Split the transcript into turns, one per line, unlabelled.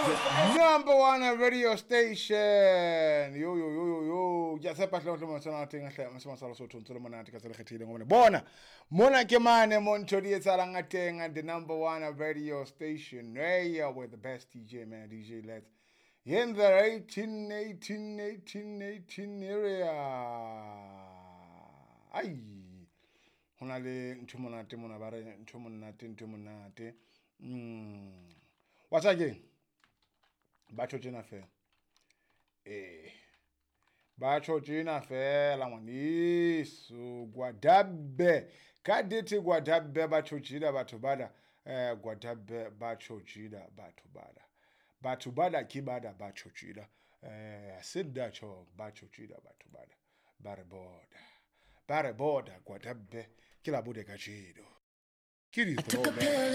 The number one radio station. Yo yo yo yo yo. Ke a tshepa hle hle mosana teng hle mosana sa Lesotho ntse le monate ka tsela e kgethehileng hobane bona mona ke mane mo ntho di etsahalang ka teng, the number one radio station. Hey, with the best DJ, man, DJ Let's in the 18 18 18 18 area. Ai, ho na le ntho monate mona, ba re ntho monate, ntho monate. Wa tseba keng, batho tjena fela, eh, batho tjena fela ngwaneso. Gwadabe ka dithe, gwadabe batho tjena, batho bana, eh, gwadabe batho tjena, batho bana, batho bana ke bana, batho tjena, eh, sendatjho, batho tjena, batho bana ba re bona, ba re bona gwadabe ke la bone kajeno ke di
I took a
throwback.
Pill.